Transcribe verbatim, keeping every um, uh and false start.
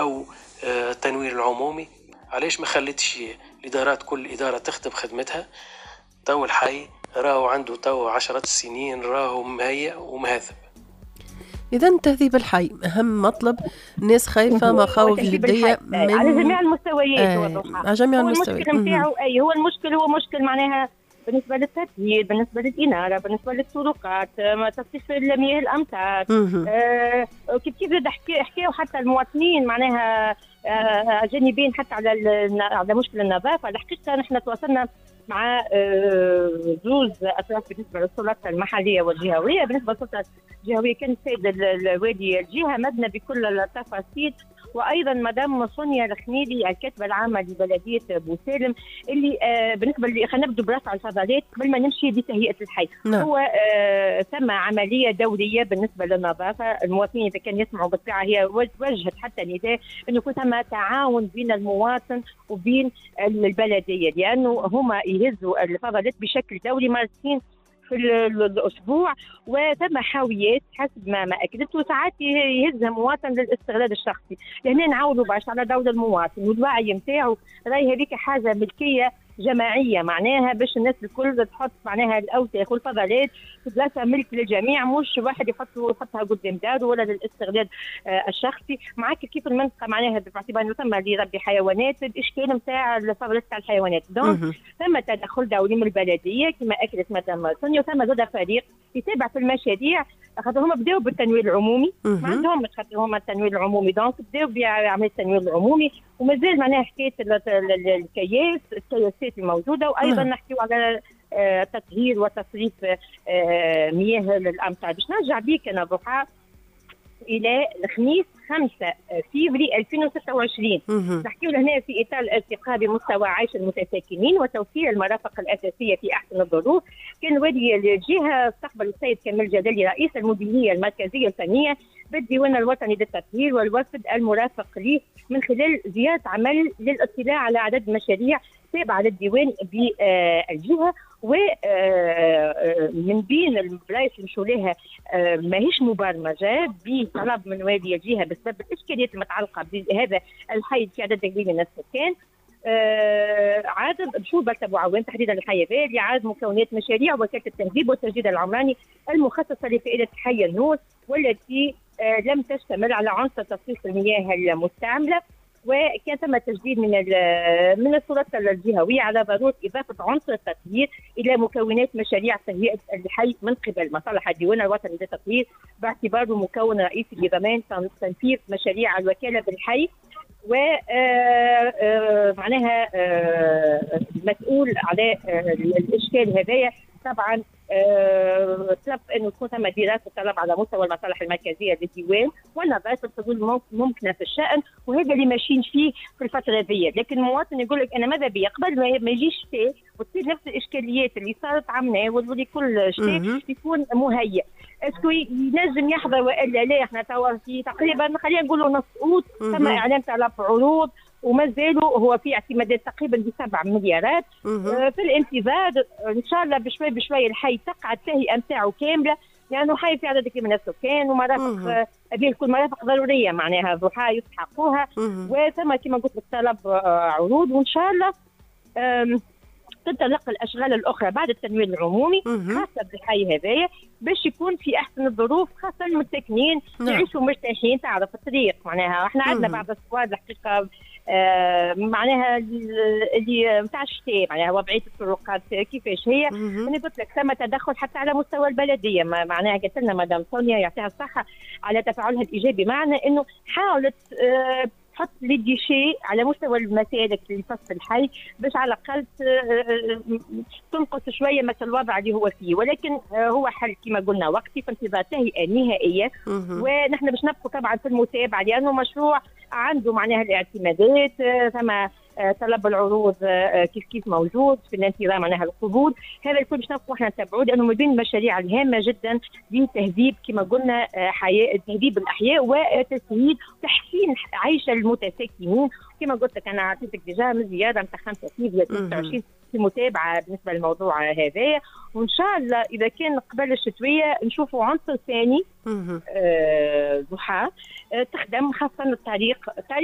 او التنوير العمومي. علاش ما خليتش الادارات كل ادارة تخدم خدمتها؟ تو الحي راهو عنده تو عشرات السنين راهو مهيأ ومهذب. إذا تهذيب الحي أهم مطلب، الناس خايفة، مخاوف جدية من على جميع المستويات. آه على جميع المستويات. المشكل نتاعو أي هو المشكل هو مشكل معناها بالنسبة للتطهير، بالنسبة للإنارة، بالنسبة للطرقات، تصريف مياه الأمطار. آه كيف كيف حكاو حتى المواطنين معناها آه جانبين حتى على على مشكل النظافة. الحقيقة نحن تواصلنا مع زوز اطراف بالنسبة للسلطات المحلية والجهويه. بالنسبة للسلطة الجهوية كان السيد الوالي الجهة مدنا بكل التفاصيل، وايضا مدام سونيا الخنيلي الكاتبة العامة لبلديه بوسالم اللي آه بالنسبة اللي خلينا نبدو برفع الفضلات قبل ما نمشي لتهيئه الحي. نعم. هو آه ثم عملية دورية بالنسبة للنظافه، المواطنين اذا كان يسمعوا بالطبيعة هي وجهت حتى نداء انه يكون ثم تعاون بين المواطن وبين البلدية، لانه هما يهزوا الفضلات بشكل دوري مرتين في الاسبوع، وثم حاويات حسب ما ما اكدت، وساعات يهزها مواطن للاستغلال الشخصي. لهنا نعاودوا باش على دور المواطن والوعي نتاعو، راهي هذيك حاجة ملكية جماعية معناها باش الناس الكل تحط معناها الاوساخ والفضلات في بلاصة ملك للجميع، مش واحد يحط يحطها قدام داره ولا للاستغلال آه الشخصي. معاك كيف المنطقة معناها باعتبار انه ثم اللي يربي حيوانات، الاشكال نتاع الفضلات تاع الحيوانات، donc ثم تدخل دولي من البلدية كما اكدت مدام سونيا، وثم زاد فريق يتابع في المشاريع خاطر هما بداوا بالتنوير العمومي، ما عندهمش خاطر هما التنوير العمومي، donc بداوا بعملية التنوير العمومي، ومازال معناها حكاية الكياس الكياسات الموجودة، وايضا نحكيو على تطهير وتصريف مياه الامطار. باش نرجع بيك انا ضحى الى الخميس خمسة فيفري ألفين وستة وعشرين، نحكيو لهنا في اطار الارتقاء بمستوى عيش المتساكنين وتوفير المرافق الاساسية في احسن الظروف. كان والي الجهة استقبل السيد كمال جلالي رئيس المديرية المركزية الفنية بالديوان الوطني للتطهير والوفد المرافق له من خلال زيارة عمل للاطلاع على عدد مشاريع تابعه للديوان بالجهة، ومن بين البلايص اللي مشوا لها ماهيش مبرمجه بطلب من والي الجهة بسبب الاشكاليات المتعلقة بهذا الحي في عدد كبير من السكان. عاد مشوا بلدة بوعوان تحديدا الحي هذا لعرض مكونات مشاريع وكالة التهذيب والتجديد العمراني المخصصة لفائدة حي النور، والتي لم تشتمل على عنصر تصريف المياه المستعملة. وكان ثم تجديد من من السلطات الجهوية على ضرورة اضافه عنصر التطهير الى مكونات مشاريع تهيئة الحي من قبل مصالح الديوان الوطني للتطهير باعتباره مكون رئيسي لضمان تنفيذ مشاريع الوكالة بالحي، و معناها المسؤول على الاشكال هذايا طبعا طلب انه تكون ثم دراسة طلب على مستوى المصالح المركزية للديوان والنظر في الحلول الممكنة في الشان، وهذا اللي ماشيين فيه في الفترة هذه. لكن المواطن يقول لك انا ماذا بيا قبل ما يجيش شتاء وتصير نفس الاشكاليات اللي صارت عمنا واللي كل شتاء يكون مهيئ، est-ce que ينجم يحضر والا لا؟ احنا توا في تقريبا خلينا نقولوا نص اوت ثم اعلان طلب عروض وما زالوا هو في اعتمادات تقريبا بسبع مليارات آه في الانتظار. ان شاء الله بشوي بشوي الحي تقع التهيئه نتاعو كاملة، لانه حي في عدد كبير من السكان ومرافق هذه الكل مرافق ضرورية معناها ضحى يستحقوها، وثم كما قلت لك طلب عروض، وان شاء الله تنطلق الاشغال الاخرى بعد التنوير العمومي خاصة بالحي هذايا باش يكون في احسن الظروف، خاصة المساكنين يعيشوا مرتاحين. تعرف الطريق معناها احنا عندنا بعض الصواد الحقيقة آه معناها اللي نتاع الشتاء معناها وضعية الطرقات كيفاش هي. انا قلت لك ثم تدخل حتى على مستوى البلدية، معناها قالت لنا مدام سونيا يعطيها الصحة على تفاعلها الايجابي معنا انه حاولت آه تحط les déchets على مستوى المسالك اللي في الحي باش على الاقل تنقص شوية مثل الوضع اللي هو فيه، ولكن هو حل كما قلنا وقتي في انتظار تهيئة نهائية، ونحن باش نبقوا طبعا في المتابعة لانه مشروع عنده معناها الاعتمادات، ثم طلب العروض كيف كيف موجود في الانتظار معناها القبول، هذا الكل باش نبقوا احنا نتابعوه لانه من بين المشاريع الهامة جدا لتهذيب كما قلنا حياة تهذيب الاحياء وتسهيل تحسين عيش المتساكنين. كما قلت لك انا عطيتك déjà من زيادة نتاع خمسة في ستة وعشرين في متابعه بالنسبة للموضوع هذايا، وان شاء الله اذا كان قبل الشتوية نشوفوا عنصر ثاني ضحى آه تخدم خاصة الطريق.